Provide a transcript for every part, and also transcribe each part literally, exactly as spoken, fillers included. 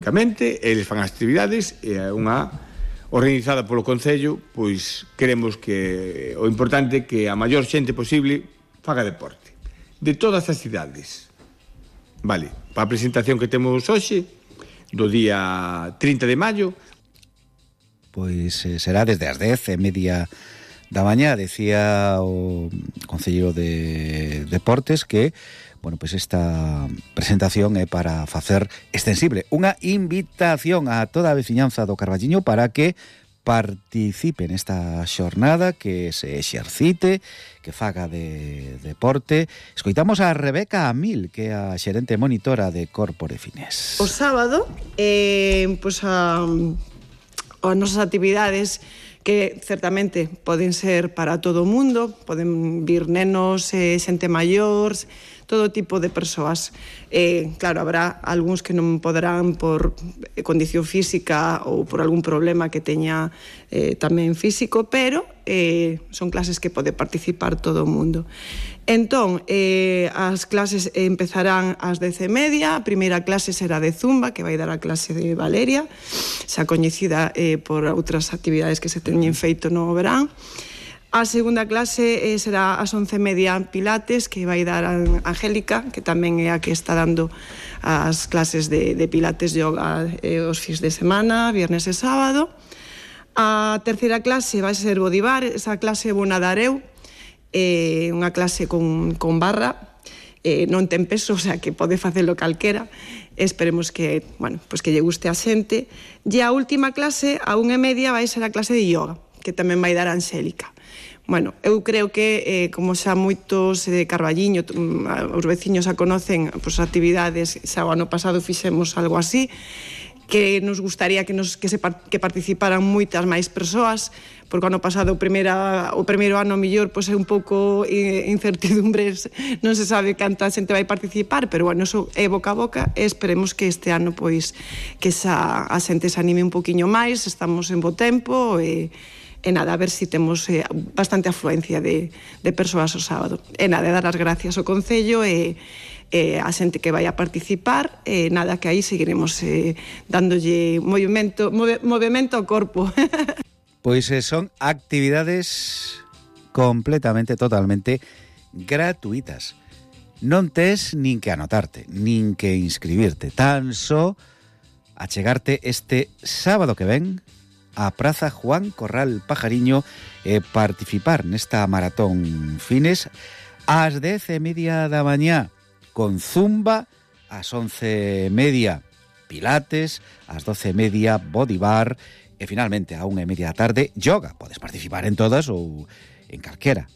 Eles fan actividades e unha organizada polo Concello, pois queremos que o importante é que a maior xente posible faga deporte de todas as cidades. Vale, para a presentación que temos hoxe do día trinta de maio, pois eh, será desde as dez e media da mañá. Decía o concelleiro de Deportes que bueno, pois esta presentación é para facer extensible unha invitación a toda a veciñanza do Carballiño para que participe nesta xornada, que se exercite, que faga de deporte. Escoitamos a Rebeca Amil, que é a xerente monitora de Corpore Finés. O sábado, eh, pois a, as nosas actividades que certamente poden ser para todo o mundo, poden vir nenos, eh, xente maior, todo tipo de persoas. Eh, claro, habrá algúns que non poderán por condición física ou por algún problema que teña eh, tamén físico, pero eh, son clases que pode participar todo o mundo. Entón, eh, as clases empezarán ás dez e media. A primeira clase será de Zumba, que vai dar a clase de Valeria, xa coñecida eh, por outras actividades que se teñen feito no verán. A segunda clase eh, será ás once e media Pilates, que vai dar a Angélica, que tamén é a que está dando as clases de, de Pilates yoga eh, os fins de semana, viernes e sábado. A terceira clase vai ser Body Bar. Esa clase vou nadar eu, eh, unha clase con, con barra, eh, non ten peso, o sea que pode facelo calquera. Esperemos que, bueno, pues que lle guste a xente. E a última clase, a unha e media, vai ser a clase de yoga, que tamén vai dar a Angélica. Bueno, eu creo que, eh, como xa moitos de Carballiño, os veciños a conocen, pues, actividades, xa o ano pasado fixemos algo así, que nos gustaría que, nos, que, se, que participaran moitas máis persoas, porque o ano pasado o, primeira, o primeiro ano mellor pues, é un pouco incertidumbres, non se sabe canta xente vai participar, pero bueno, eso é boca a boca e esperemos que este ano pois que xa a xente se anime un poquinho máis, estamos en bo tempo e E nada, a ver se si temos eh, bastante afluencia de, de persoas o sábado. E nada, dar as gracias ao Concello e, e a xente que vai a participar. E nada, que aí seguiremos eh, dándolle movimento, move, movimento ao corpo. Pois eh, son actividades completamente, totalmente gratuitas. Non tes nin que anotarte, nin que inscribirte. Tan só achegarte este sábado que ven a Praza Juan Corral Pajariño e participar nesta maratón Fines ás dez e media da mañá, con Zumba ás once e media Pilates, ás doce e media Body Bar e finalmente a unha e media da tarde yoga. Podes participar en todas ou en calquera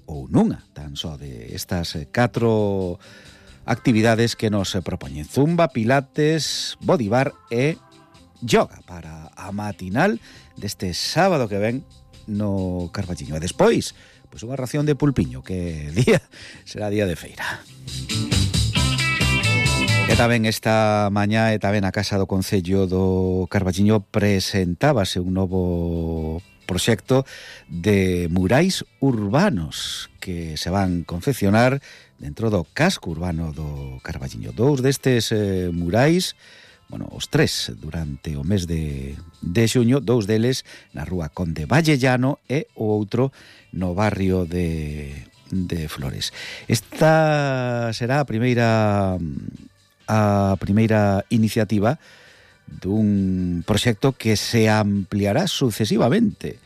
ou nunha tan só de estas catro actividades que nos propoñen: Zumba, Pilates, Body Bar e yoga para a matinal deste sábado que ven no Carballiño. E despois, pois unha ración de pulpiño, que día será día de feira. E tamén esta mañá e tamén a Casa do Concello do Carballiño presentábase un novo proxecto de murais urbanos que se van confeccionar dentro do casco urbano do Carballiño. Dous destes eh, murais, bueno, os tres durante o mes de, de xuño, dous deles na rúa Conde Vallellano e o outro no barrio de, de Flores. Esta será a primeira a primeira iniciativa dun proxecto que se ampliará sucesivamente,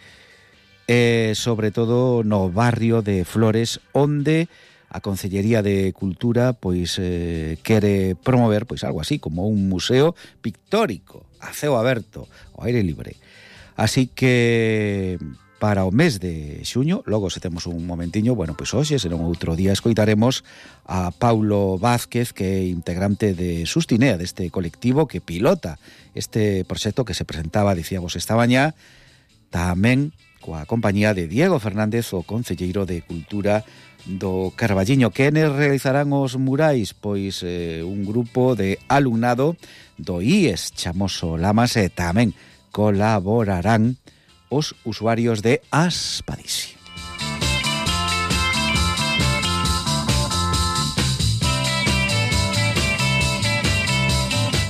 e sobre todo no barrio de Flores, onde a Concellería de Cultura pois eh, quere promover pois algo así como un museo pictórico a ceo aberto, ao aire libre. Así que para o mes de xuño, logo se temos un momentiño, bueno, pois hoxe, será un outro día, escoitaremos a Paulo Vázquez, que é integrante de Sustinea, deste colectivo que pilota este proxecto que se presentaba, dicíamos, esta mañá, tamén coa compañía de Diego Fernández, o concelleiro de Cultura do Carballiño. Quenes realizarán os murais? Pois eh, un grupo de alumnado do I E S Chamoso Lamas, e tamén colaborarán os usuarios de Aspadisi.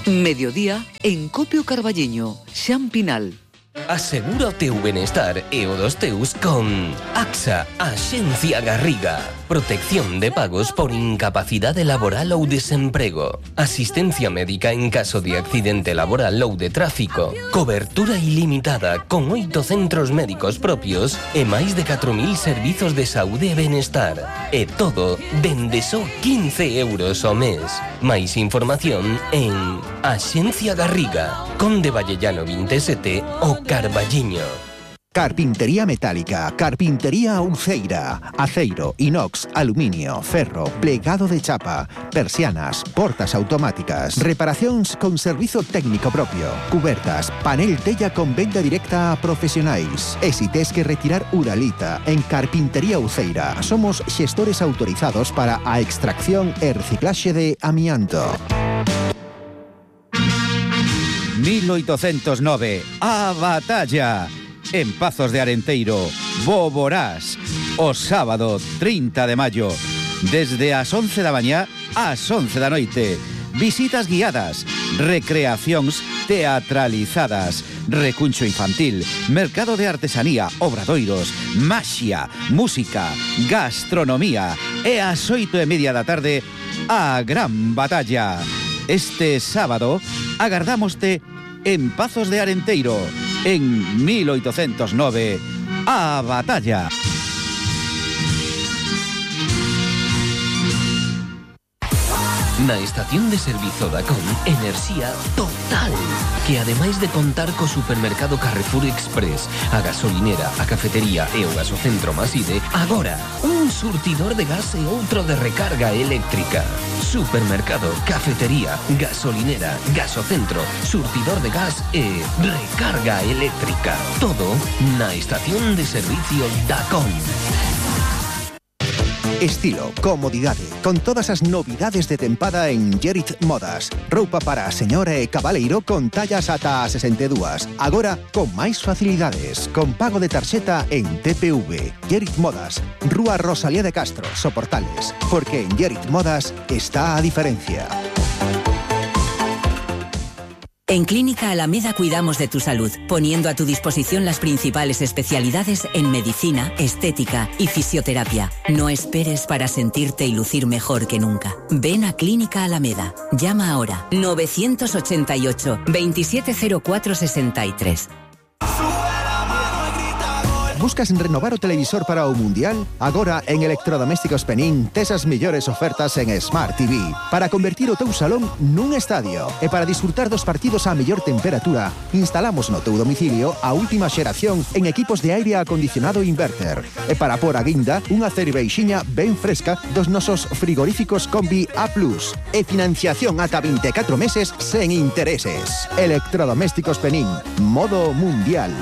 Mediodía en Copio Carballiño, Xampinal. Asegura o teu benestar e o dos teus con AXA, Axencia Garriga. Protección de pagos por incapacidade laboral ou desemprego. Asistencia médica en caso de accidente laboral ou de tráfico. Cobertura ilimitada con oito centros médicos propios e máis de catro mil servizos de saúde e benestar. E todo dende só quince euros ao mes. Máis información en Axencia Garriga, Conde Vallellano vinte e sete o Carballiño. Carpintería metálica, carpintería Uceira, aceiro, inox, aluminio, ferro, plegado de chapa, persianas, portas automáticas, reparacións con servizo técnico propio, cubertas, panel tella con venda directa a profesionais. E si tes que retirar uralita, en Carpintería Uceira somos xestores autorizados para a extracción e reciclaxe de amianto. mil oitocentos nove, a batalla en Pazos de Arenteiro, Boborás, o sábado trinta de maio, desde as once da mañá ás once da noite. Visitas guiadas, recreacións teatralizadas, recuncho infantil, mercado de artesanía, obradoiros, maxia, música, gastronomía e ás oito e media da tarde a gran batalla. Este sábado agardámoste en Pazos de Arenteiro, en mil oitocentos nove, a batalla. Na estación de servizo Dacon, enerxía total, que ademais de contar co supermercado Carrefour Express, a gasolinera, a cafetería e o gasocentro Maside, agora un surtidor de gas e outro de recarga eléctrica. Supermercado, cafetería, gasolinera, gasocentro, surtidor de gas e recarga eléctrica. Todo na estación de servicio Dacon. Estilo, comodidade, con todas as novidades de tempada en Gerit Modas. Roupa para a señora e cabaleiro con tallas ata a sesenta e dúas. Agora, con máis facilidades, con pago de tarxeta en T P V. Gerit Modas, Rúa Rosalía de Castro, Soportales. Porque en Gerit Modas está a diferencia. En Clínica Alameda cuidamos de tu salud, poniendo a tu disposición las principales especialidades en medicina, estética y fisioterapia. No esperes para sentirte y lucir mejor que nunca. Ven a Clínica Alameda. Llama ahora novecientos ochenta y ocho, veintisiete cero cuatro sesenta y tres. Buscas renovar o televisor para o Mundial? Agora en Electrodomésticos Penín tes as mellores ofertas en Smart T V para convertir o teu salón nun estadio e para disfrutar dos partidos a mellor temperatura. Instalamos no teu domicilio a última xeración en equipos de aire acondicionado inverter e para por a guinda unha cerveixiña ben fresca dos nosos frigoríficos Combi A plus e financiación ata vinte e catro meses sen intereses. Electrodomésticos Penín, modo Mundial.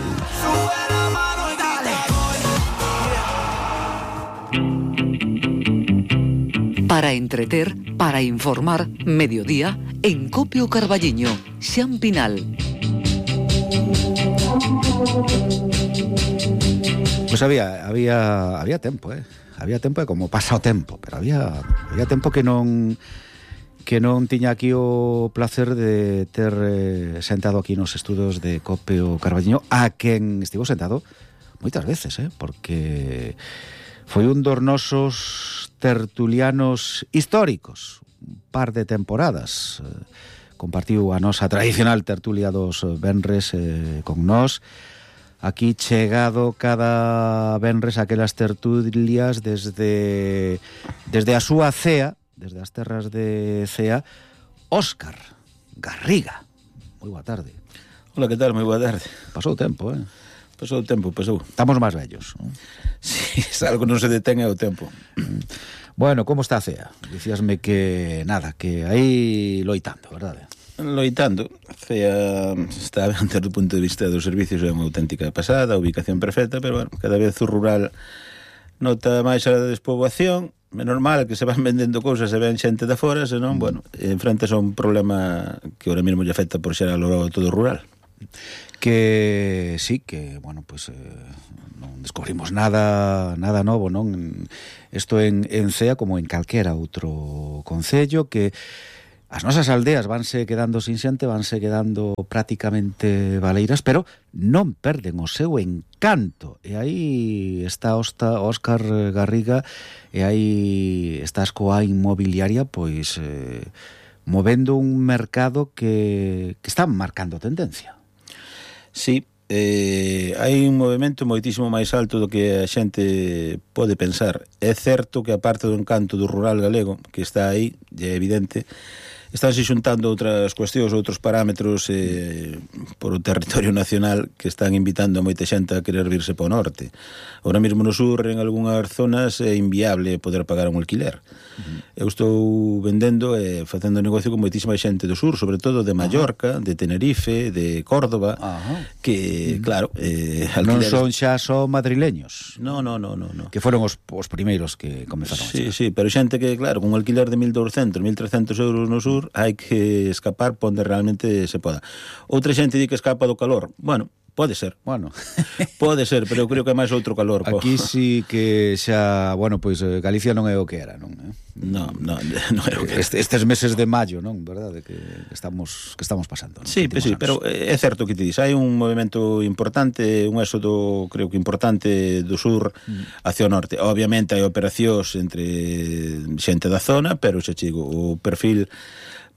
Para entreter, para informar, mediodía, en Copio Carballiño, Xampinal. Pues había había había tempo, eh. Había tempo, como pasa o tempo, pero había había tempo que non que non tiña aquí o placer de ter eh, sentado aquí nos estudos de Copio Carballiño, a quen estivo sentado moitas veces, eh, porque foi un dos nosos tertulianos históricos, un par de temporadas. Eh, compartiu a nosa tradicional tertulia dos venres eh, con nós. Aquí chegado cada venres aquelas tertulias desde desde a súa cea, desde as terras de Cea, Óscar Garriga. Moi boa tarde. Hola, que tal? Moi boa tarde. Pasou tempo, eh? Pasou o tempo, pasou. Estamos máis vellos, non? Si, sí, algo non se detén é o tempo. Bueno, como está a Cea? Dicíasme que nada, que aí loitando, verdade? Loitando. Cea está ben desde o punto de vista dos servicios, é unha auténtica pasada, ubicación perfecta, pero bueno, cada vez o rural nota máis a despoboación. É normal que se van vendendo cousas e ven xente de fora, senón, bueno, enfrentas a un problema que ahora mesmo lle afecta por xeral ao todo rural. Que sí, que, bueno, pues eh, non descubrimos nada nada novo, non? Isto en, en Cea como en calquera outro concello, que as nosas aldeas vanse quedando sin xente, vanse quedando prácticamente baleiras, pero non perden o seu encanto. E aí está Óscar Garriga, e aí está a Escoa Inmobiliaria, pois eh, movendo un mercado que, que está marcando tendencia. Sí, eh, hai un movimento moitísimo máis alto do que a xente pode pensar. É certo que a parte do encanto do rural galego, que está aí, é evidente, estánse xuntando outras cuestións, outros parámetros eh, por o territorio nacional que están invitando a moita xente a querer virse para o norte. Ahora mesmo no sur, en algunhas zonas, é inviable poder pagar un alquiler. Uh-huh. Eu estou vendendo e eh, facendo negocio con moitísima xente do sur, sobre todo de Mallorca, uh-huh. de Tenerife, de Córdoba, uh-huh. que, uh-huh. claro... Eh, alquileres... Non son xa só madrileños. No, no, no, no, no. Que foron os, os primeiros que comezaron. Sí, sí, pero xente que, claro, con un alquiler de mil doscientos, mil trescentos euros no sur, hai que escapar por onde realmente se poda. Outra xente di que escapa do calor. Bueno, pode ser. Bueno, pode ser, pero eu creo que é máis outro calor. Aquí sí que xa, bueno, pois Galicia non é o que era, non? Eh? No, no, non é o que era. Este, estes meses de maio, non? Verdade que estamos que estamos pasando. Sí, pues sí, pero é certo que te dis, hai un movimento importante, un éxodo, creo que importante do sur hacia o norte. Obviamente hai operacións entre xente da zona, pero xa chigo, o perfil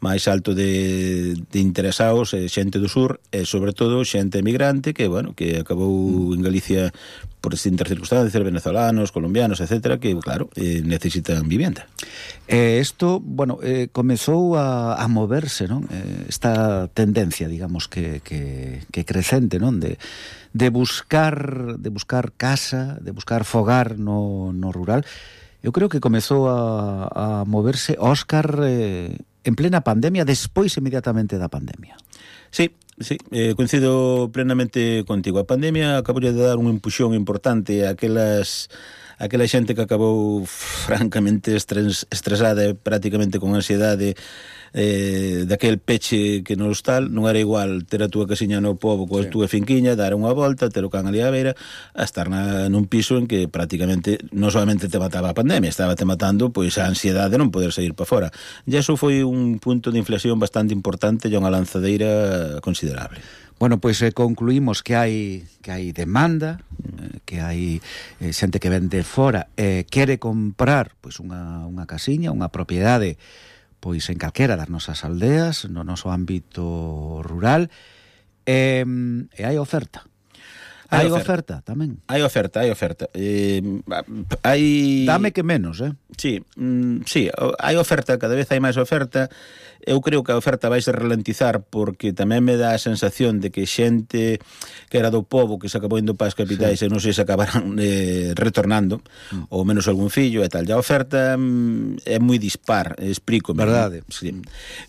máis alto de, de interesados é xente do sur e sobre todo xente emigrante que, bueno, que acabou en Galicia por distintas circunstancias, venezolanos, colombianos, etcétera, que, claro, eh, necesitan vivienda. Eh, esto, bueno, eh, comezou a, a moverse, non? Eh, esta tendencia, digamos, que, que, que crecente, non? De, de buscar de buscar casa, de buscar fogar no, no rural. Eu creo que comezou a, a moverse Óscar eh, en plena pandemia, despois inmediatamente da pandemia. Sí, sí, eh, coincido plenamente contigo. A pandemia acabou de dar un empuxón importante a aquelas aquela xente que acabou francamente estres, estresada e prácticamente con ansiedade eh, daquel peche que no hostal. Non era igual ter a túa casiña no pobo coa sí. túa finquiña, dar unha volta, ter o can ali á beira, a estar na, nun piso en que prácticamente non solamente te mataba a pandemia, estaba te matando pois a ansiedade de non poder sair para fora. E iso foi un punto de inflexión bastante importante e unha lanzadeira considerable. Bueno, pois eh, concluímos que hai que hai demanda, eh, que hai eh, xente que vende fora e eh, quere comprar pois unha, unha casiña, unha propiedade pois en calquera das nosas aldeas, no noso ámbito rural, e, e hai oferta. Hai, hai oferta. oferta tamén. Hai oferta, hai oferta. Eh, hai... Dame que menos, eh? Sí, mm, sí, hai oferta, cada vez hai máis oferta. Eu creo que a oferta vai se ralentizar porque tamén me dá a sensación de que xente que era do pobo que se acabou indo para as capitais sí. e non sei se acabarán eh, retornando mm. ou menos algún fillo e tal. E a oferta mm, é moi dispar, explico. Verdade. Sí.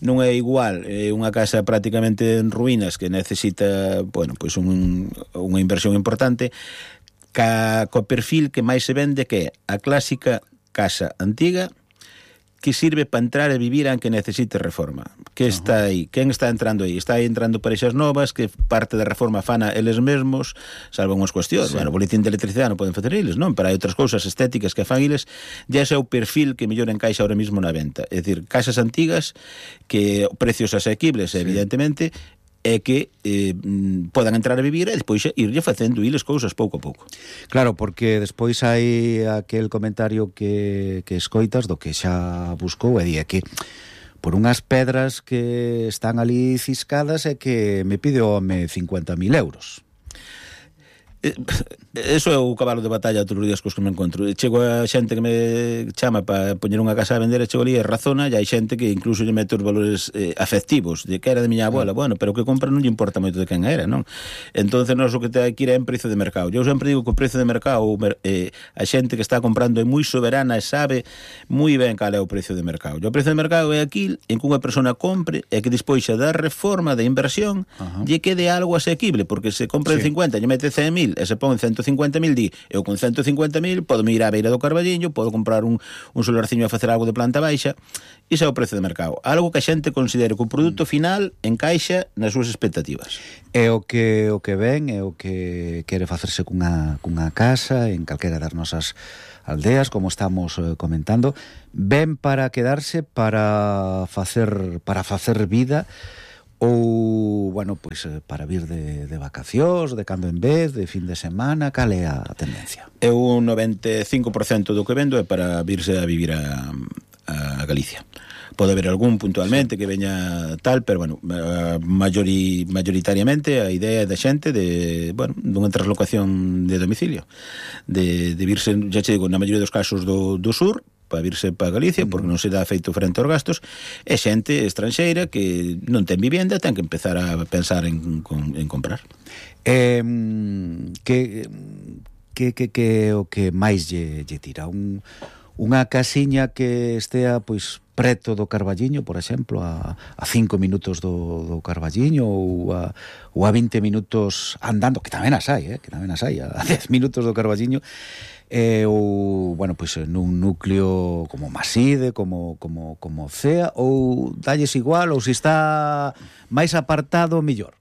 Non é igual é unha casa prácticamente en ruínas que necesita, bueno, pois un, unha inversión importante ca, co perfil que máis se vende que é a clásica casa antiga que sirve para entrar e vivir aunque necesite reforma. Que está aí? Quen está entrando aí? Está aí entrando parexas novas que parte da reforma fana eles mesmos, salvo unhas cuestións. Sí. Bueno, o boletín de electricidade non poden facer eles, non? Pero hai outras cousas estéticas que fan eles, e ese é o perfil que mellor encaixa ahora mismo na venta. É dicir, casas antigas que precios asequibles, sí. evidentemente, é que eh, podan entrar a vivir e despois irlle facendo iles cousas pouco a pouco. Claro, porque despois hai aquel comentario que, que escoitas do que xa buscou e di que por unhas pedras que están ali ciscadas é que me pide o home cincuenta mil euros. Eso é o cabalo de batalla todos os días cos que me encontro. Chego a xente que me chama para poñer unha casa a vender e chego ali e razona, e hai xente que incluso lle mete os valores eh, afectivos de que era de miña abuela, bueno, pero o que compra non lle importa moito de quen era, non? Entonces nós o que te hai que ir é en precio de mercado. Eu sempre digo que o precio de mercado eh, a xente que está comprando é moi soberana e sabe moi ben cal é o precio de mercado. E o precio de mercado é aquil en que unha persona compre e que despois xa da reforma de inversión uh-huh. lle quede algo asequible, porque se compra sí. en cincuenta lle mete cen mil mil e se pon en ciento cincuenta mil, di, eu con ciento cincuenta mil podo me ir á beira do Carballiño, podo comprar un, un solarciño a facer algo de planta baixa. Iso é o prezo de mercado, algo que a xente considere que o produto final encaixa nas súas expectativas. É o que o que ven, é o que quere facerse cunha, cunha casa en calquera das nosas aldeas, como estamos eh, comentando, ven para quedarse, para facer para facer vida, ou, bueno, pois pues, para vir de, de vacacións, de cando en vez, de fin de semana, cal é a tendencia? É un noventa e cinco por cento do que vendo é para virse a vivir a, a Galicia. Pode haber algún puntualmente, sí, que veña tal, pero, bueno, mayori, mayoritariamente a idea da xente de, bueno, dunha traslocación de domicilio, de, de virse, xa che digo, na maioría dos casos do, do sur, para virse para Galicia, porque non se dá feito frente aos gastos, é xente estranxeira que non ten vivienda, ten que empezar a pensar en, en comprar. Eh, que, que, que, que o que máis lle, lle tira? Un, unha casiña que estea, pois, preto do Carballiño, por exemplo, a, a cinco minutos do, do Carballiño, ou a, ou a vinte minutos andando, que tamén as hai, eh, que tamén as hai, a dez minutos do Carballiño, eh, ou, bueno, pois nun núcleo como Maside, como, como, como Cea, ou dalles igual, ou se está máis apartado, mellor.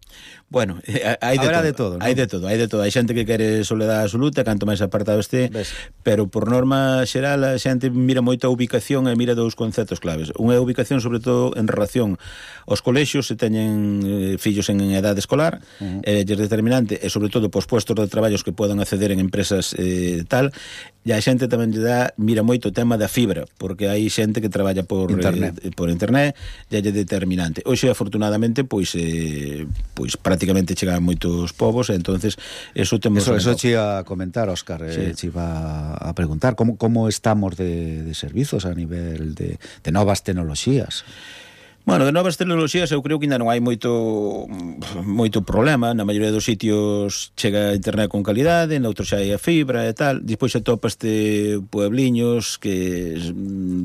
Bueno, hai de, de todo, hai de todo, hai de todo. Hai xente que quere soledade absoluta, canto máis apartado este, ¿ves? Pero por norma xeral a xente mira moito a ubicación e mira dous conceptos claves. Unha é a ubicación sobre todo en relación aos colexios, se teñen eh, fillos en edade escolar, uh-huh. é determinante, e sobre todo pos puestos de traballos que podan acceder en empresas eh, tal, e a xente tamén lle dá, mira moito o tema da fibra, porque hai xente que traballa por internet, eh, por internet, e é determinante. Hoxe, afortunadamente, pois eh, pois prácticamente chegan moitos povos, e entonces eso temos... Eso, eso che iba a comentar, Óscar, sí. eh, che iba a preguntar como, como estamos de, de servizos a nivel de, de novas tecnoloxías. Bueno, de novas tecnoloxías eu creo que ainda non hai moito moito problema. Na maioría dos sitios chega a internet con calidade, noutros xa hai a fibra e tal. Despois xa topaste puebliños que,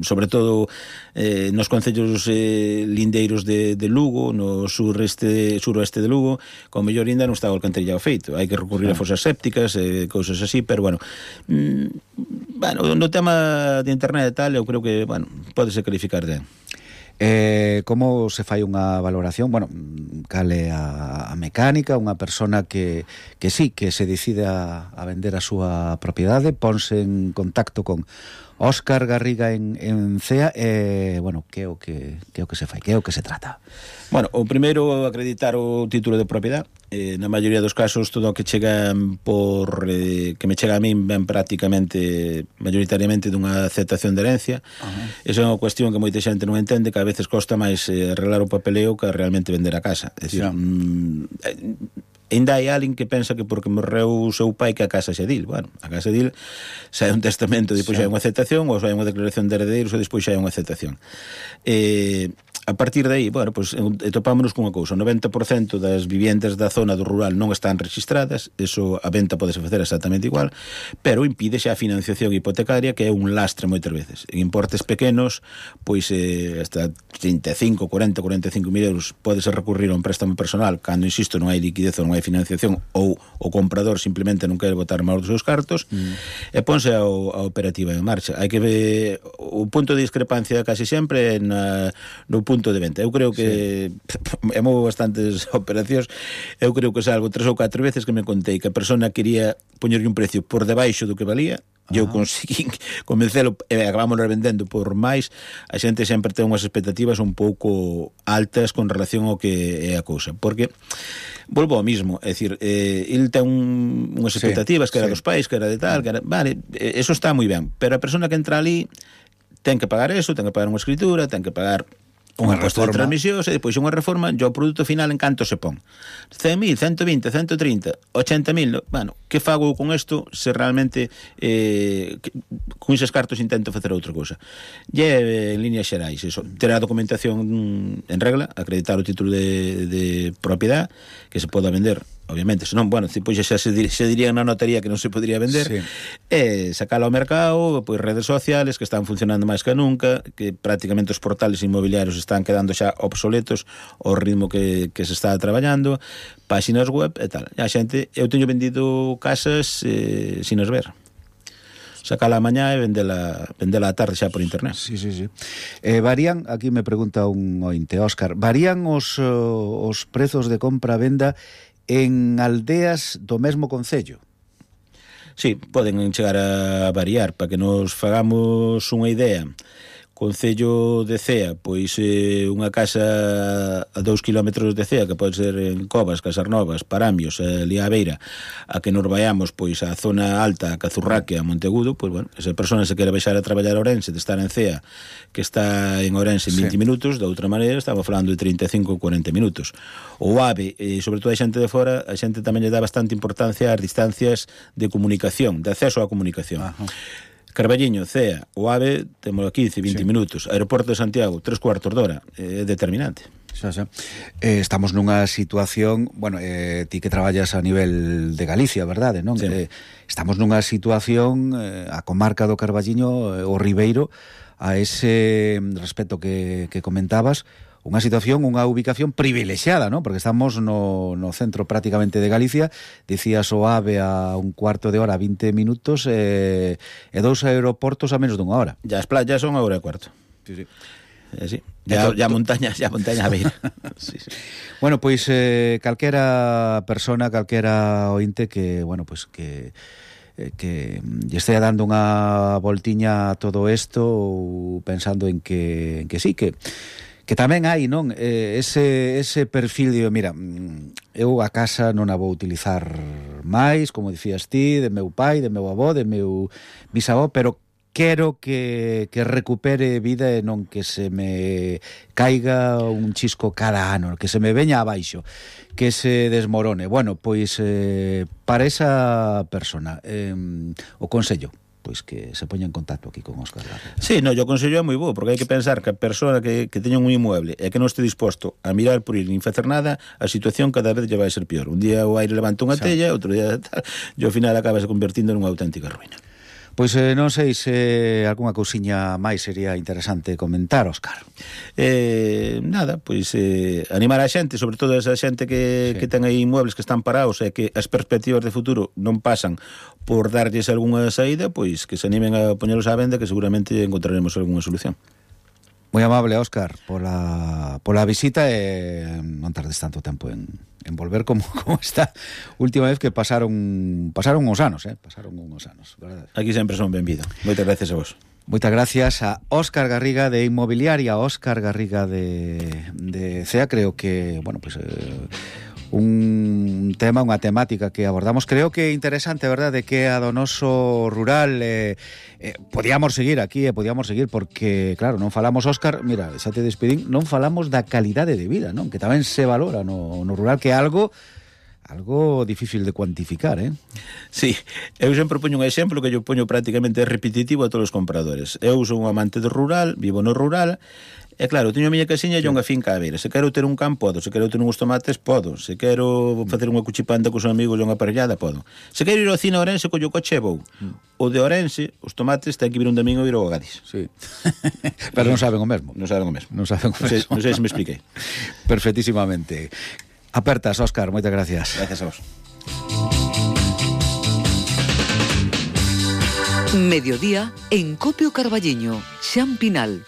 sobre todo eh, nos concellos eh, lindeiros de, de Lugo, no sureste, suroeste de Lugo, con mellor ainda non está o alcantarillado feito. Hai que recurrir sí. a fosas sépticas e eh, cousas así, pero bueno, mm, bueno, no tema de internet e tal, eu creo que, bueno, pódese calificar de... Eh, como se fai unha valoración? Bueno, cal é a, a mecánica? Unha persona que, que sí, que se decide a, a vender a súa propiedade, ponse en contacto con Óscar Garriga en, en Cea, e, eh, bueno, que é o que, que é o que se fai, que é o que se trata? Bueno, o primeiro, acreditar o título de propiedade. Eh, na maioría dos casos todo o que chega por eh, que me chega a min ben prácticamente mayoritariamente dunha aceptación de herencia. Uh-huh. Esa é unha cuestión que moita xente non entende, que a veces costa máis eh, arreglar o papeleo que realmente vender a casa. É dicir, sí. mm, eh, ainda hai alguén que pensa que porque morreu o seu pai que a casa xe dil. Bueno, a casa dil xa é un testamento, depois xa é unha aceptación, ou xa é unha declaración de heredeiros, ou despois xa é unha aceptación. Eh, a partir de aí, bueno, pues, topámonos cunha cousa, o noventa por cento das viviendas da zona do rural non están registradas, eso a venta podese facer exactamente igual, pero impide xa a financiación hipotecaria, que é un lastre moitas veces. En importes pequenos, pois eh, hasta trinta e cinco, cuarenta, cuarenta e cinco mil euros podese recurrir a un préstamo personal, cando, insisto, non hai liquidez ou non hai financiación, ou o comprador simplemente non quere botar máis dos seus cartos, mm. e ponse a, a operativa en marcha. Hai que ver o punto de discrepancia casi sempre na, no punto de venta. Eu creo que sí. é moi bastantes operacións. Eu creo que salvo tres ou catro veces que me contei que a persona quería poñerlle un precio por debaixo do que valía, e eu conseguín convencelo e acabamos vendendo por máis. A xente sempre ten unhas expectativas un pouco altas con relación ao que é a cousa, porque volvo ao mismo, é dicir, eh, el ten un, unhas expectativas sí, que era sí. dos pais, que era de tal, que era, vale, eso está moi ben, pero a persona que entra ali ten que pagar eso, ten que pagar unha escritura, ten que pagar unha imposto de transmisións, e depois unha reforma, e o produto final en canto se pon. cen mil, ciento vinte, ciento trinta, ochenta mil, bueno, que fago con isto se realmente eh, que, con eses cartos intento facer outra cousa? E eh, en líneas xerais, eso, ter a documentación en regla, acreditar o título de, de propiedade, que se poda vender obviamente, senón, bueno, pois xa se, dir, se diría na notaría que non se podría vender, sí. E sacala ao mercado, pois redes sociales que están funcionando máis que nunca, que prácticamente os portales inmobiliarios están quedando xa obsoletos ao ritmo que, que se está traballando, páxinas web e tal. E a xente, eu teño vendido casas eh, sin as ver. Sacala a mañá e vendela, vendela a tarde xa por internet. Sí, sí, sí. Eh, varían, aquí me pregunta un ointe, Óscar, varían os, os prezos de compra-venda en aldeas do mesmo concello? Sí, poden chegar a variar, para que nos fagamos unha idea. Concello de Cea, pois eh, unha casa a dous kilómetros de Cea, que pode ser en Covas, Casarnovas, Paramios, eh, Lía Beira, a que nos vayamos pois a zona alta, a Cazurraque, a Monteagudo, pois bueno, esa persona se quere baixar a traballar a Ourense, de estar en Cea, que está en Ourense en vinte sí. minutos, de outra maneira estamos falando de trinta e cinco a cuarenta minutos. O AVE, e sobre todo a xente de fora, a xente tamén lle dá bastante importancia ás distancias de comunicación, de acceso á comunicación. Ajá. Carballiño, Cea, o AVE temos quince, vinte sí. minutos. Aeroporto de Santiago, tres cuartos de hora. É determinante. Xa, xa. Eh, estamos nunha situación, bueno, eh, ti que traballas a nivel de Galicia, verdade, non? Sí. Eh, estamos nunha situación, eh, a comarca do Carballiño, eh, o Ribeiro, a ese respecto que, que comentabas, unha situación, unha ubicación privilexiada, ¿no? Porque estamos no, no centro prácticamente de Galicia, dicías o AVE a un cuarto de hora, vinte minutos, eh, e dous aeroportos a menos dunha hora. Ya as playas son a hora e cuarto. Sí, sí. Eh, sí. Ya, ya montaña, ya montaña a ver. Sí, sí. Bueno, pois eh, calquera persona, calquera ointe que, bueno, pois que que lle estea dando unha voltiña a todo isto ou pensando en que, en que sí, que que tamén hai, non, eh, ese, ese perfil de, mira, eu a casa non a vou utilizar máis, como dicías ti, de meu pai, de meu avó, de meu bisavó, pero quero que, que recupere vida e non que se me caiga un chisco cada ano, que se me veña abaixo, que se desmorone. Bueno, pois eh, para esa persona, eh, o consello, pois que se poña en contacto aquí con Óscar Garriga. Sí, no, yo consello é moi bo, porque hai que pensar que a persona que, que teña un inmueble e que non este disposto a mirar por ir nin facer nada, a situación cada vez lle vai ser pior. Un día o aire levanta unha sí. tella, outro día tal, e ao final acaba se convertindo nunha auténtica ruína. Pois eh, non sei se algunha cousiña máis sería interesante comentar, Óscar. Eh, nada, pois eh, animar a xente, sobre todo esa xente que, sí. que ten aí inmuebles que están parados e que as perspectivas de futuro non pasan por darlles algunha saída, pois que se animen a poñelos á venda, que seguramente encontraremos algunha solución. Moi amable, Óscar, pola, pola visita e non tardes tanto tempo en, en volver como, como esta última vez que pasaron pasaron uns anos, eh? Pasaron uns anos, verdade? Aquí sempre son benvido. Moitas gracias a vos. Moitas gracias a Óscar Garriga de Inmobiliaria, Óscar Garriga de, de Cea. Creo que, bueno, pues eh, un tema, unha temática que abordamos, creo que interesante, verdade, que a do noso rural eh, eh, podíamos seguir aquí e eh, podíamos seguir porque, claro, non falamos, Óscar, mira, xa te despedín, non falamos da calidade de vida, non? Que tamén se valora no, no rural, que é algo algo difícil de cuantificar, eh? Sí, eu sempre poño un exemplo que eu poño prácticamente repetitivo a todos os compradores. Eu sou un amante do rural, vivo no rural. E claro, teño a miña casiña e unha finca a ver. Se quero ter un can, podo. Se quero ter uns tomates, podo. Se quero facer unha cuchipanda cos amigos e unha parellada, podo. Se quero ir ao cine a Ourense, collo coche e vou. O de Ourense, os tomates, ten que vir un domingo e ir ao Gadis. Sí. Pero non saben o mesmo. Non saben o mesmo. Non saben o mesmo. Non sei, non sei se me expliquei. Perfectísimamente. Apertas, Óscar, moitas gracias. Gracias a vos. Mediodía en Copio Carballiño, Xan Pinal.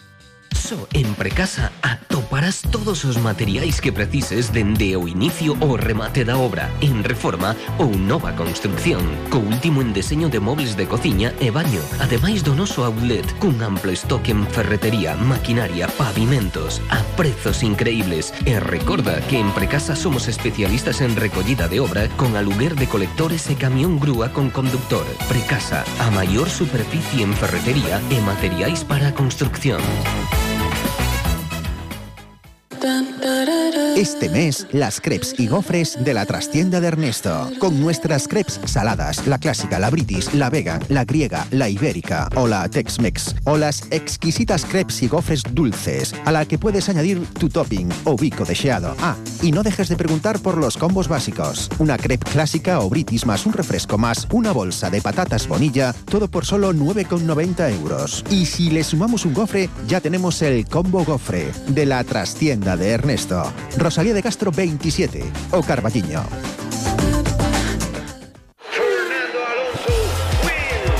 Só en Precasa atoparás todos os materiais que precises dende o inicio ao remate da obra, en reforma ou nova construcción, co último en deseño de mobles de cociña e baño, ademais do noso outlet, cun amplo estoque en ferretería, maquinaria, pavimentos, a prezos increíbles. E recorda que en Precasa somos especialistas en recollida de obra con aluguer de colectores e camión grúa con conductor. Precasa, a maior superficie en ferretería e materiais para a construcción. Este mes, las crepes y gofres de la trastienda de Ernesto. Con nuestras crepes saladas, la clásica, la british, la vegan, la griega, la ibérica o la Tex-Mex. O las exquisitas crepes y gofres dulces, a la que puedes añadir tu topping o bico deseado. Ah, y no dejes de preguntar por los combos básicos. Una crepe clásica o british más un refresco más una bolsa de patatas Bonilla, todo por solo nueve con noventa euros. Y si le sumamos un gofre, ya tenemos el combo gofre de la trastienda de Ernesto. Rosalía de Castro veintisiete o Carballiño.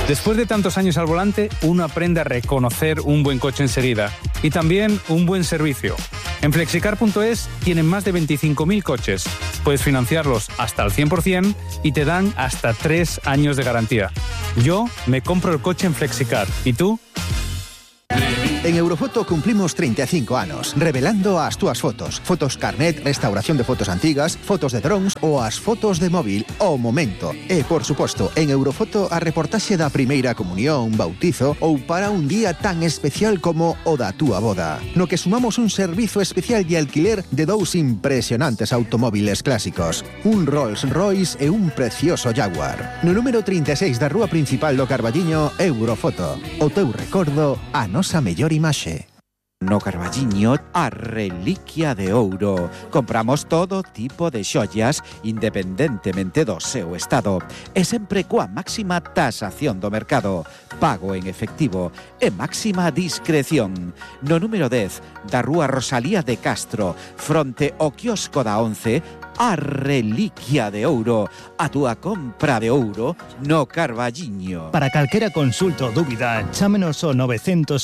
Después de tantos años al volante, uno aprende a reconocer un buen coche enseguida y también un buen servicio. En flexicar punto es tienen más de veinticinco mil coches. Puedes financiarlos hasta el cien por ciento y te dan hasta tres años de garantía. Yo me compro el coche en Flexicar. ¿Y tú? En Eurofoto cumplimos treinta e cinco anos, revelando as túas fotos. Fotos carnet, restauración de fotos antigas, fotos de drones ou as fotos de móvil ao momento. E, por suposto, en Eurofoto a reportaxe da primeira comunión, bautizo ou para un día tan especial como o da túa boda. No que sumamos un servizo especial de alquiler de dous impresionantes automóviles clásicos. Un Rolls Royce e un precioso Jaguar. No número trinta e seis da rúa principal do Carballiño, Eurofoto. O teu recordo, a nosa mellor imaxe. No Carballiño, a reliquia de ouro. Compramos todo tipo de xoias independentemente do seu estado e sempre coa máxima tasación do mercado, pago en efectivo e máxima discreción. No número dez da rúa Rosalía de Castro, fronte ao quiosco da once, a reliquia de ouro, a túa compra de ouro no Carballiño. Para calquera consulta ou dúbida, chámenos ao nove oito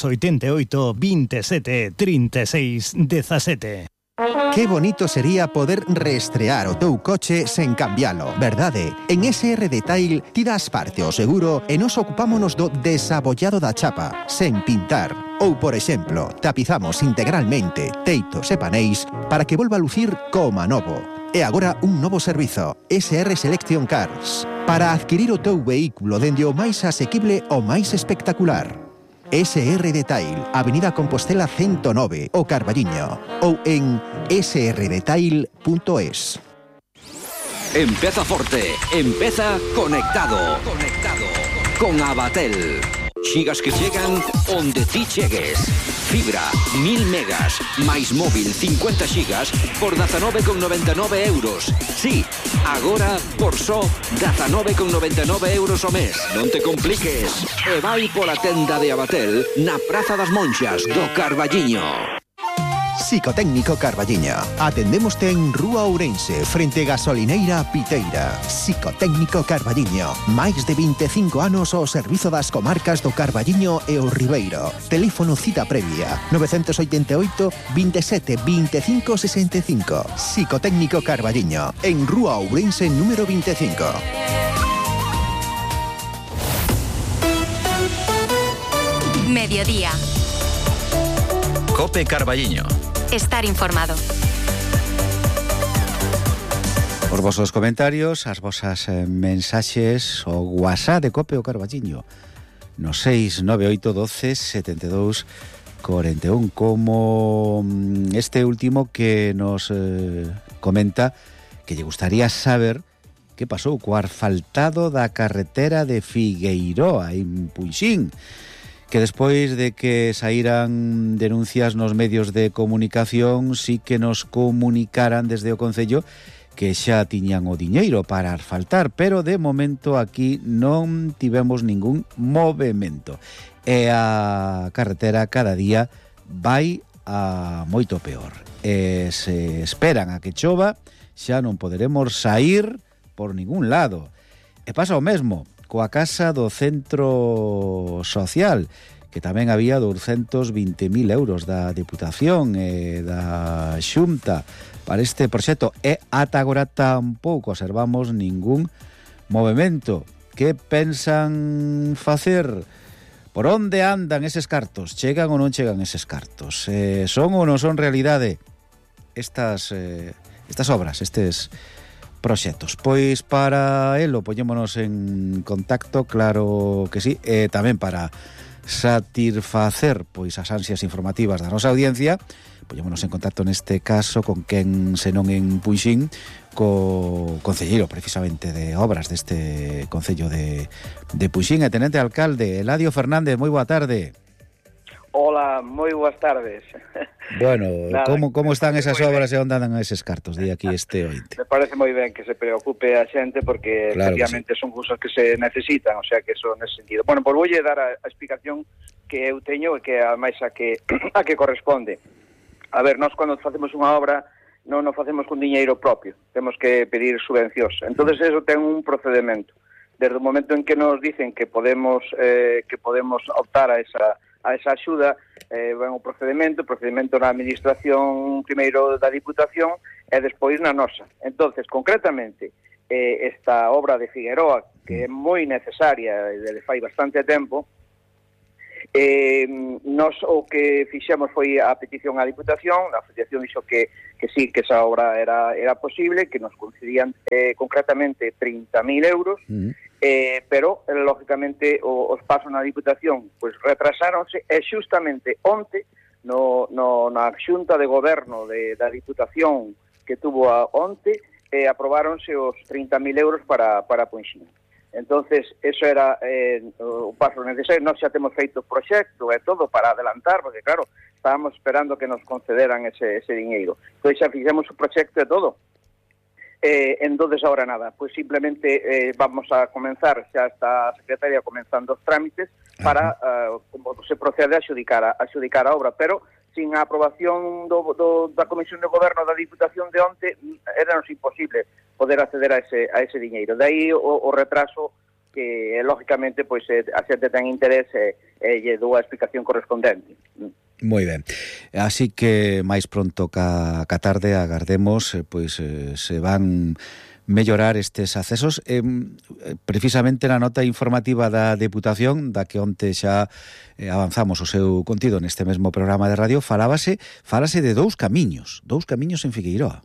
oito, veintisiete, trinta e seis, dezasete. Qué bonito sería poder reestrear o teu coche sen cambialo, verdade? En S R Detail ti das parte ao seguro e nos ocupámonos do desabollado da chapa, sen pintar. Ou, por exemplo, tapizamos integralmente teitos e paneis para que volva a lucir como novo. E agora un novo servizo, S R Selection Cars, para adquirir o teu vehículo dende o máis asequible ao máis espectacular. S R Detail, Avenida Compostela ciento nove, o Carballiño, ou en s r detail punto es. Empeza forte, empeza conectado. Conectado con Abatel. Xigas que chegan onde ti chegues. Fibra, mil megas, máis móvil, cincuenta xigas, por dezanove con noventa e nove euros. Sí, agora por só dezanove con noventa e nove euros o mes. Non te compliques. E vai pola tenda de Abatel na Praza das Monxas do Carballiño. Psicotécnico Carballiño. Atendémoste en Rúa Ourense, frente Gasolineira Piteira. Psicotécnico Carballiño. Máis de vinte e cinco anos ao servizo das comarcas do Carballiño e o Ribeiro. Teléfono cita previa nove oito oito, veintisiete, veinticinco, sesenta e cinco. Psicotécnico Carballiño. En Rúa Ourense número veinticinco. Mediodía. Cope Carballiño. Estar informado. Os vosos comentarios, as vosas eh, mensaxes, o WhatsApp de Cope o Carballiño no seis nove oito doce, setenta e dous, cuarenta e un, como este último que nos eh, comenta que lle gustaría saber que pasou co asfaltado da carretera de Figueiroa en Puixín, que despois de que saíran denuncias nos medios de comunicación sí que nos comunicaran desde o Concello que xa tiñan o diñeiro para asfaltar, pero de momento aquí non tivemos ningún movimento e a carretera cada día vai a moito peor e se esperan a que chova xa non poderemos sair por ningún lado. E pasa o mesmo coa casa do centro social, que tamén había doscientos veinte mil euros da Deputación e da Xunta para este proxecto, e ata agora tampouco observamos ningún movimento. Que pensan facer? Por onde andan eses cartos? Chegan ou non chegan eses cartos? Eh, son ou non son realidade estas, eh, estas obras, estes proxectos? Pois para elo poñémonos en contacto, claro que sí, e tamén para satisfacer pois as ansias informativas da nosa audiencia, Poñémonos en contacto neste caso con quen senón en Punxín, co concelleiro precisamente de obras deste concello de, de Punxín, e tenente alcalde Eladio Fernández. Moi boa tarde. Hola, moi boas tardes. Bueno, como, como están esas obras e onde andan eses cartos? Di aquí este ointe. Me parece moi ben que se preocupe a xente porque claro, efectivamente sí, son cousas que se necesitan, o sea que eso nese sentido. Bueno, pois voulle dar a, a explicación que eu teño e que ademais a que a que corresponde. A ver, nós cando facemos unha obra non o facemos con diñeiro propio, temos que pedir subvencións. Entonces eso ten un procedimento. Desde o momento en que nos dicen que podemos eh, que podemos optar a esa a esa axuda, eh, ven o procedimento, o procedimento na administración primeiro da Diputación e despois na nosa. Entonces, concretamente, eh, esta obra de Figueroa, que é moi necesaria e desde fai bastante tempo, eh, nos o que fixemos foi a petición á Diputación, a Asociación dixo que, que sí, que esa obra era, era posible, que nos concedían eh, concretamente trinta mil euros, uh-huh. Eh, pero, eh, lógicamente, o, os pasos na Diputación pues, retrasáronse e xustamente onte no, no, na Xunta de Goberno de, da Diputación que tuvo a onte eh, aprobáronse os trinta mil euros para, para Punxín. Entonces, eso era eh, o paso necesario. Nós xa temos feito o proxecto e todo para adelantar, porque claro, estábamos esperando que nos concederan ese, ese diñeiro. Entón xa fixemos o proxecto e todo. Eh, entonces ahora nada, pues simplemente eh, vamos a comenzar, xa está a Secretaria comenzando os trámites para uh, como se procede a xudicar a, a xudicar a obra, pero sin a aprobación do, do, da Comisión de Goberno da Diputación de onte era nos imposible poder acceder a ese, a ese diñeiro. De aí o, o retraso que, lógicamente, pues, eh, a xente ten interés e eh, lle dou a explicación correspondente. Moi ben. Así que máis pronto ca, ca tarde agardemos, eh, pois eh, se van mellorar estes accesos. Eh, precisamente na nota informativa da Deputación, da que onte xa eh, avanzamos o seu contido neste mesmo programa de radio, falábase, falase de dous camiños, dous camiños en Figueiroa.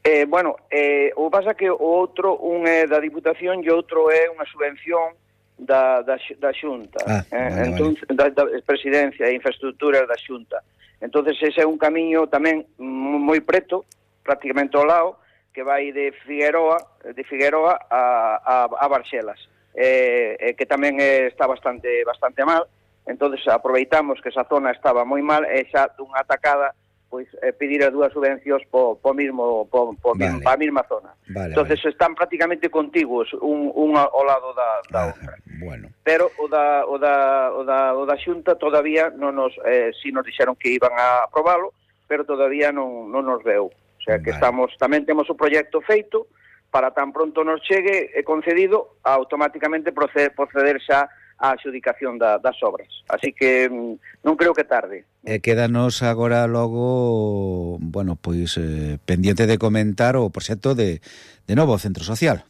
Eh, bueno, eh, o pasa que o outro, un é da Diputación e outro é unha subvención da, da, da Xunta, ah, eh, vale, entón, vale. Da, da Presidencia e Infraestructuras da Xunta. Entonces ese é un camiño tamén moi preto, prácticamente ao lado, que vai de Figueroa, de Figueroa a, a, a Barxelas, eh, eh, que tamén eh, está bastante bastante mal. Entonces aproveitamos que esa zona estaba moi mal e xa dunha atacada pois eh, pedir as dúas subvencións po, po mismo po, po vale. pa a mesma zona. Vale, entonces vale. Están prácticamente contiguos un, un ao lado da, da ah, outra. Bueno. Pero o da, o da, o da, o da Xunta todavía non nos, eh, si nos dixeron que iban a aprobalo, pero todavía non, non nos veu. O sea que vale. Estamos, tamén temos o proxecto feito, para tan pronto nos chegue e concedido, automáticamente proceder, proceder xa a adxudicación da, das obras. Así que non creo que tarde. E quédanos agora logo, bueno, pois eh, pendiente de comentar o proxecto de, de novo Centro Social.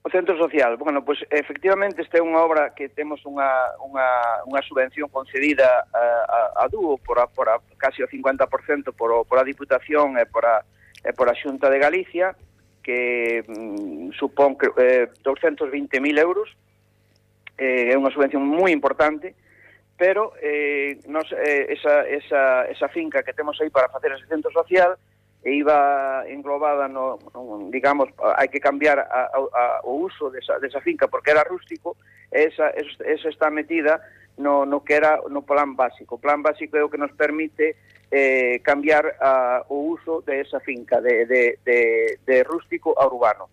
O Centro Social, bueno, pois efectivamente esta é unha obra que temos unha, unha, unha subvención concedida a, a, a dúo por, a, por a, casi o cincuenta por cento por, o, por a Diputación e por a, e por a Xunta de Galicia, que mm, supón eh, doscientos vinte mil euros. É unha subvención moi importante, pero eh, nos, eh, esa, esa, esa finca que temos aí para facer ese centro social e iba englobada no, no digamos, hai que cambiar a, a, o uso desa, desa finca porque era rústico, esa, esa está metida no, no que era no plan básico. O plan básico é o que nos permite eh, cambiar a, o uso de esa finca de, de, de, de rústico a urbano,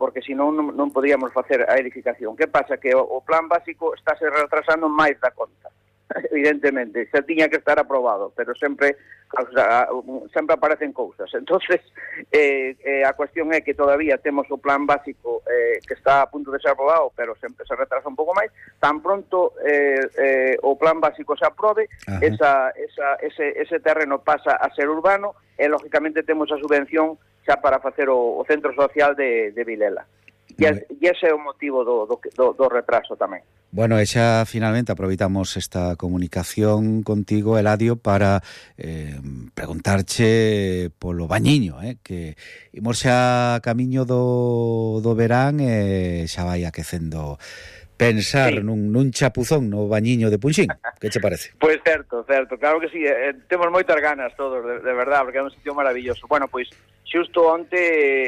porque senón non, non podíamos facer a edificación. Que pasa? Que o, o plan básico está se retrasando máis da conta, evidentemente. Se tiña que estar aprobado, pero sempre o sea, sempre aparecen cousas. Entonces, eh, eh, a cuestión é que todavía temos o plan básico eh, que está a punto de ser aprobado, pero sempre se retrasa un pouco máis. Tan pronto eh, eh, o plan básico se aprobe, esa, esa, ese, ese terreno pasa a ser urbano e, lógicamente, temos a subvención xa para facer o, o centro social de, de Vilela. E, e ese é o motivo do, do, do, do retraso tamén. Bueno, e xa finalmente aproveitamos esta comunicación contigo, Eladio, para eh, preguntarche polo bañiño, eh, que imos xa camiño do, do verán e xa vai aquecendo pensar sí. nun, nun chapuzón no bañiño de Punxín. Que che parece? Pois certo, certo, claro que sí, eh, temos moitas ganas todos, de, de verdad, porque é un sitio maravilloso. Bueno, pois, xusto onte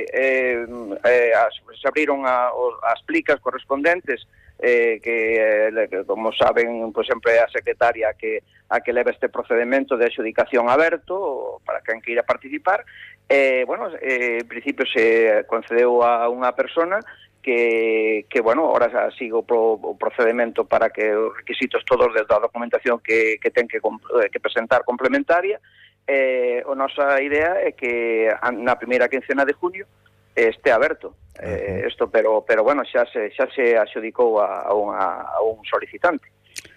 eh, eh, as, se abriron a, os, as plicas correspondentes, eh, que, eh, como saben, pois sempre é a secretaria que, a que leva este procedimento de adxudicación aberto para quen queira participar. Eh, bueno, eh, en principio se concedeu a unha persona que, que bueno, ahora sigue o, pro, o procedimento para que os requisitos todos da documentación que, que ten que, que presentar complementaria. Eh, a nosa idea é que na primeira quincena de junio este aberto eh, isto, pero, pero bueno, xa se, xa se adxudicou a, a, unha, a un solicitante.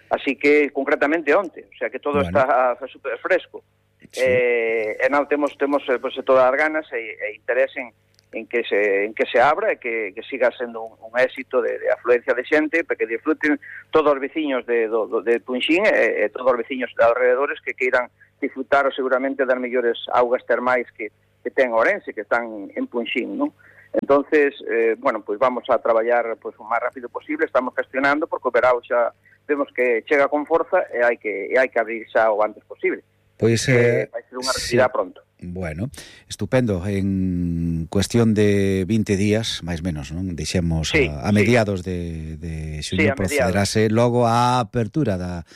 Así que, concretamente, onte, o sea que todo bueno. está super fresco. Sí. Eh, e non temos, temos pues, todas as ganas e, e interés en en que se en que se abra e que, que siga sendo un, un éxito de, de afluencia de xente, para que disfruten todos os veciños de, do, de Punxín e, e todos os veciños de alrededores que queiran disfrutar seguramente das mellores augas termais que, que ten Ourense, que están en Punxín, non? Entonces, eh, bueno, pois pues vamos a traballar pues, o máis rápido posible, estamos gestionando, porque o verao xa vemos que chega con forza e hai que, e hai que abrir xa o antes posible. Pois eh, vai ser unha realidade sí. pronto. Bueno, estupendo. En cuestión de vinte días, máis menos, non? Deixemos sí, a, a mediados sí. de, de xuño sí, procederase logo a apertura da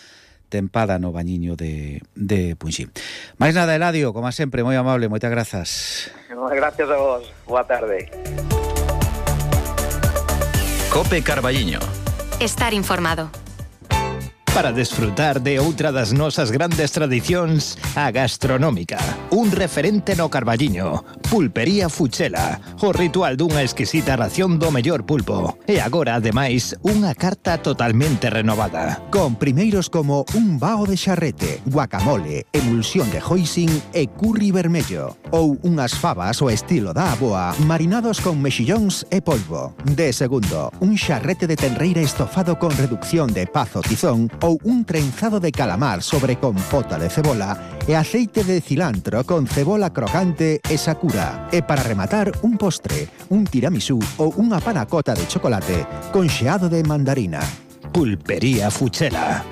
tempada no bañiño de, de Punxín. Máis nada, Eladio, como sempre, moi amable, moitas grazas. Gracias a vos. Boa tarde. Cope Carballiño. Estar informado. Para desfrutar de outra das nosas grandes tradicións, a gastronómica. Un referente no Carballiño, Pulpería Fuchela, o ritual dunha exquisita ración do mellor pulpo. E agora, ademais, unha carta totalmente renovada. Con primeiros como un bao de xarrete, guacamole, emulsión de hoisin e curry vermello. Ou unhas fabas ao estilo da aboa, marinados con mexillóns e polvo. De segundo, un xarrete de tenreira estofado con reducción de pazo tizón ou un trenzado de calamar sobre compota de cebola e aceite de cilantro con cebola crocante e sakura. E para rematar, un postre, un tiramisú ou unha panacota de chocolate con xeado de mandarina. Pulpería Fuchela.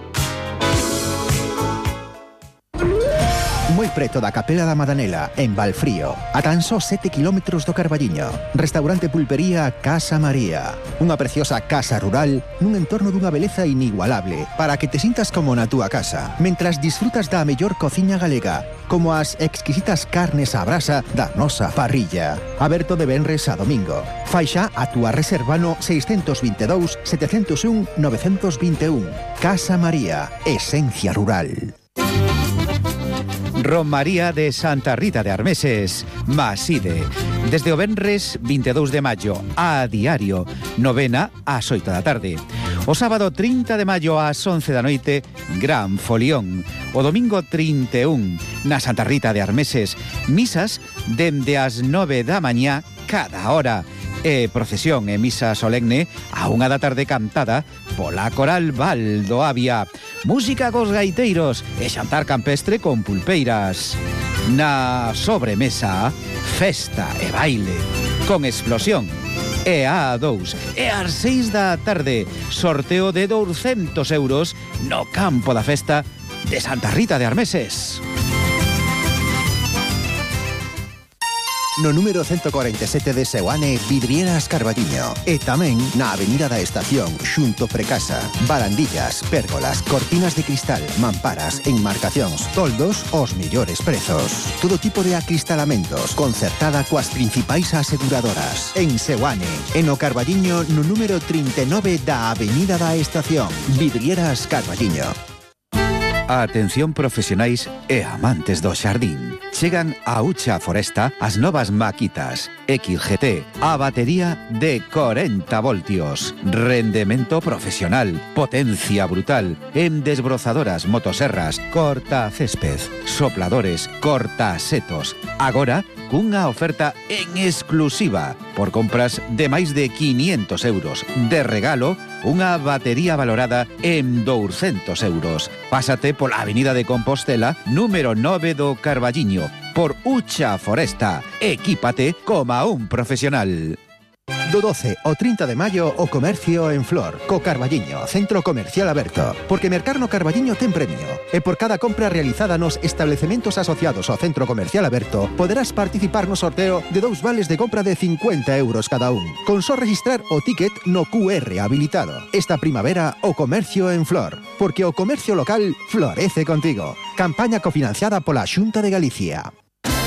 Moi preto da Capela da Madanela, en Valfrío, a tan só sete kilómetros do Carballiño. Restaurante Pulpería Casa María. Unha preciosa casa rural nun entorno dunha beleza inigualable para que te sintas como na túa casa, mentras disfrutas da mellor cociña galega, como as exquisitas carnes á brasa da nosa parrilla. Aberto de venres a domingo. Faixa a túa reserva no seis dos dous, sete zero un, nove dos un. Casa María, esencia rural. Romaría de Santa Rita de Armeses, Maside. Desde o venres vinte e dous de maio a diario, novena ás oito da tarde. O sábado trinta de maio ás once da noite, gran folión. O domingo trinta e un, na Santa Rita de Armeses, misas dende as nove da mañá cada hora. E procesión e misa solemne a unha da tarde cantada pola Coral Val do Avia. Música cos gaiteiros e xantar campestre con pulpeiras. Na sobremesa, festa e baile con explosión. E a dous, e ás seis da tarde, sorteo de douscentos euros no campo da festa de Santa Rita de Armeses. No número ciento cuarenta e sete de Seoane, Vidrieras Carballiño. E tamén na Avenida da Estación, xunto Precasa. Barandillas, pérgolas, cortinas de cristal, mamparas, enmarcacións, toldos, os millores prezos. Todo tipo de acristalamentos, concertada coas principais aseguradoras. En Seoane, en o Carballiño, no número trinta e nove da Avenida da Estación. Vidrieras Carballiño. Atención profesionais e amantes do xardín. Chegan a Ucha Foresta as novas maquitas X G T, a batería de corenta voltios, rendemento profesional, potencia brutal, en desbrozadoras, motoserras, corta césped, sopladores, corta setos. Agora, cunha oferta en exclusiva por compras de máis de quinientos euros. De regalo, unha batería valorada en douscentos euros. Pásate pola Avenida de Compostela, número nove do Carballiño, por Ucha Foresta. Equípate como un profesional. Do doce ao trinta de maio o comercio en Flor, co Carballiño, Centro Comercial Aberto. Porque mercar no Carballiño ten premio. E por cada compra realizada nos establecementos asociados ao Centro Comercial Aberto, poderás participar no sorteo de dous vales de compra de cincuenta euros cada un. Con só registrar o ticket no Q R habilitado. Esta primavera o comercio en Flor. Porque o comercio local florece contigo. Campaña cofinanciada pola Xunta de Galicia.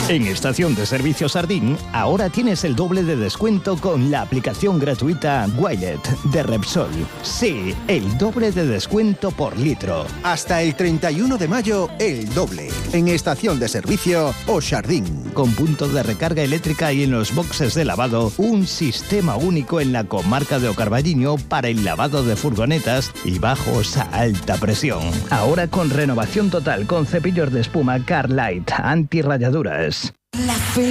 En Estación de Servicio Sardín, ahora tienes el doble de descuento con la aplicación gratuita Wilet de Repsol. Sí, el doble de descuento por litro. Hasta el treinta y uno de mayo, el doble. En Estación de Servicio O Sardín. Con punto de recarga eléctrica y en los boxes de lavado, un sistema único en la comarca de O Carballiño para el lavado de furgonetas y bajos a alta presión. Ahora con renovación total con cepillos de espuma Carlight anti-rayaduras. La fe